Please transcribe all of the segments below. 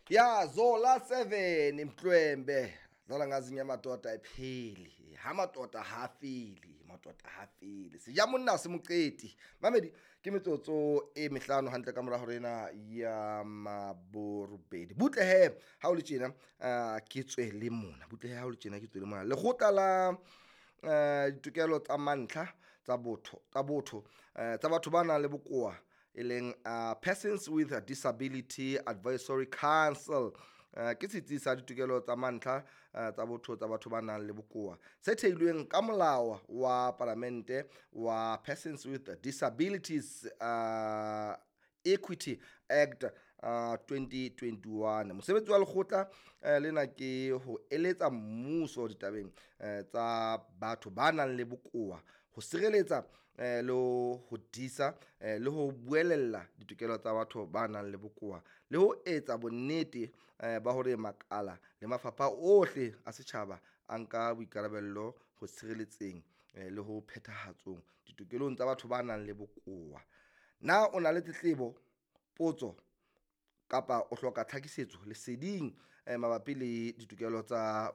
Ya Zola 7 Mhlwembe dlala ngazinye amadoda ayipheli ha madoda ha fele madoda ha fele seja monna se moqeti mamedi ke metsotso e mehlano hantle ka mora hore ena ya maborobedi. Butle he ha o le tjena, ke tswe le mona. Butle he ha o le tjena, ke tswe le mona. Lekgotla la ditokelo tsa mantlha tsa botho, tsa batho ba nang le bokowa, e leng Persons with a Disability Advisory Council, ke setsi sa ditokelo tsa mantlha tsa botho tsa batho ba nang le bokowa se theilweng ka molao wa palamente wa Persons with Disabilities Equity Act 2021. Mosebetsi wa lekgotla lena ke ho eletsa mmuso ditabeng tsa batho ba nang le bokowa, ho sireletsa le ho disa le ho buelella ditokelo tsa batho ba nang le bokowa, le ho etsa bonnete ba hore makala le mafapha ohle a setjhaba a nka boikarabello ho sireletseng le ho phethahatsong ditokelong tsa batho ba nang le bokowa. Na o na le tletlebo, potso kapa o hloka tlhakisetso leseding mabapi le ditokelo tsa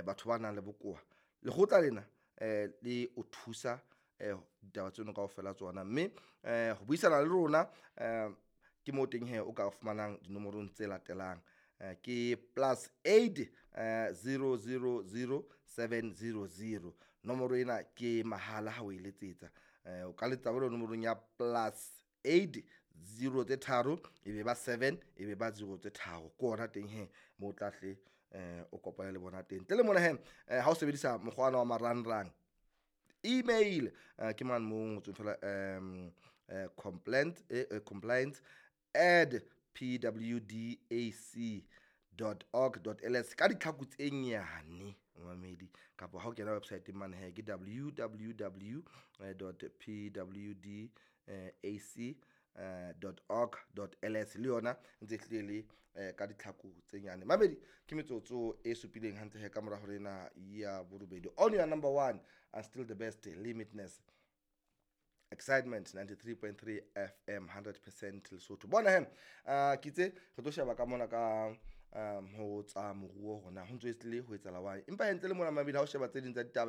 batho ba nang le bokowa? Lekgotla lena le o thusa ditaba tseno kaofela tsona, mme ho buisana le rona ke moo teng he o ka fumanang dinomorong tse latelang, ke +8 000 700. Nomoro ena ke mahala ha o e letsetsa. O ka letsetsa jwalo nomorong ya +8 0 tse tharo, e be ba 7, e be ba 0 tse tharo. Ke ona teng he mo o tla hle o kopane le bona teng. Ntle le mona he, ha o sebedisa mokgwa ona wa marangrang, email, ke mane mo ngotsweng fela complaint@pwdac.org.ls ka ditlhaku tse nyane, mamedi, kapa ha o kena website mane he ke www.pwdac.org.ls, le yona ntse hlile le ka ditlhaku tse nyane. Mamedi, ke metsotso e supileng hantle he ka mora hore ena ya borobedi on your number one and still the best, Limitless Excitement 93.3 FM, 100% Lesotho. Bona he, ke itse re tlo sheba ka mona ka ho tsa moruo hore na ho ntso e tlile ho etsahala wang, empa hentle le mona mabedi ha o sheba tse ding tsa ditaba.